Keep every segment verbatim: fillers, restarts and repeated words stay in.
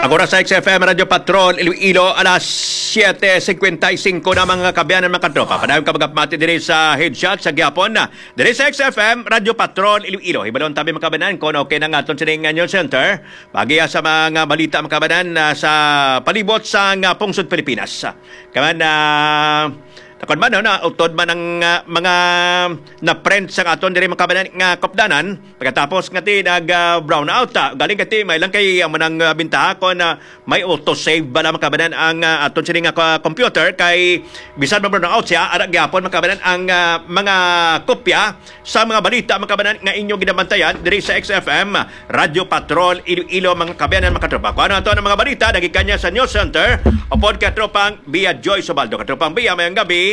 Ang oras sa X F M Radyo Patrol Iloilo, alas siete cincuenta y cinco na, mga kaabyanan, mga katropa. Padayon ka magapamati diri sa Headshot sa gihapon na diri sa X F M Radyo Patrol Iloilo. Hibalon tabi, mga kaabyanan, kung okay na nga aton sining news center. Pagiya sa mga balita, mga kaabyanan, ah, sa palibot sa nga pungsod Pilipinas. Kaman, ah, takon man, no, na utod man ang, ah, mga na-print sa aton diri, mga kaabyanan, nga kupdanan. Pagkatapos nga ti nag, ah, brownout, ah, galing kati may lang kay ang manang, ah, bintaha kon, ah, may auto save bala, mga kaabyanan, ang, ah, aton sini nga ka-, computer kay bisan ma-brownout siya, ara gyapon, mga kaabyanan, ang, ah, mga kopya sa mga balita, mga kaabyanan, nga inyo ginabantayan diri sa X F M Radyo Patrol Iloilo, mga kaabyanan, mga katropa. Kung ano ato ang mga balita, nagikan niya sa News Center, upod katropang Bia Joy Subaldo. Katropang Bia, mayang gabi.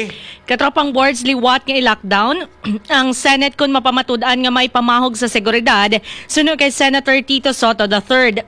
Katropang Boards, liwat nga i-lockdown ang Senate kon mapamatud-an nga may pamahog sa seguridad, suno kay Senator Tito Soto the third.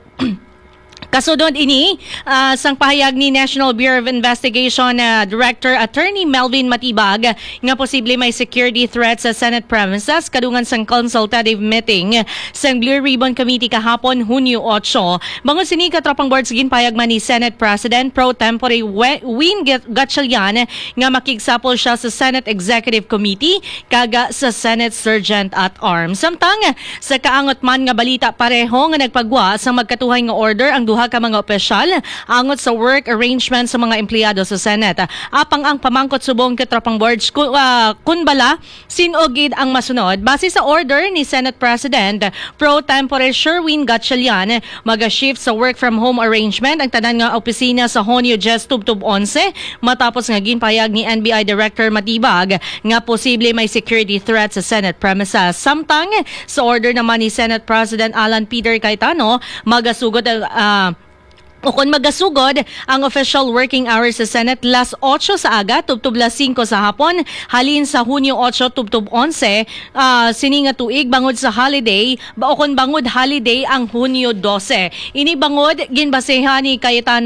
Kasunod ini, ah, sang pahayag ni National Bureau of Investigation, ah, Director Attorney Melvin Matibag nga posible may security threat sa Senate premises kadungan sang consultative meeting sang Blue Ribbon Committee kahapon, Hunyo otso. Bangod sini, Katropang Boards, ginpahayag man ni Senate President Pro Tempore We-, Win Gat-, Gatchalian nga makigsapol siya sa Senate Executive Committee kag sa Senate Sergeant at Arms. Samtang sa kaangot man nga balita, pareho nga nagpagwa sa magkatuhay nga order ang duha ka mga opisyal angot sa work arrangement sa mga empleyado sa Senate. Apang ang pamangkot subong, Katropang Boards, ku-, ah, kun bala sin-o gid ang masunod. Base sa order ni Senate President Pro Tempore Sherwin Gatchalian, maga-shift sa work from home arrangement ang tanan nga opisina sa Hunyo diyes tubtob onse, matapos nga ginpahayag ni N B I Director Matibag nga posible may security threat sa Senate premises. Samtang sa order naman ni Senate President Alan Peter Cayetano, magasugod ang, ah, o kon magasugod ang official working hours sa Senate las otso sa aga tubtob las singko sa hapon, halin sa Hunyo otso tubtob onse, ah, sini nga tuig, bangod sa holiday, ba, o kon bangod holiday ang Hunyo dose. Ini bangod ginbasehan ni Cayetano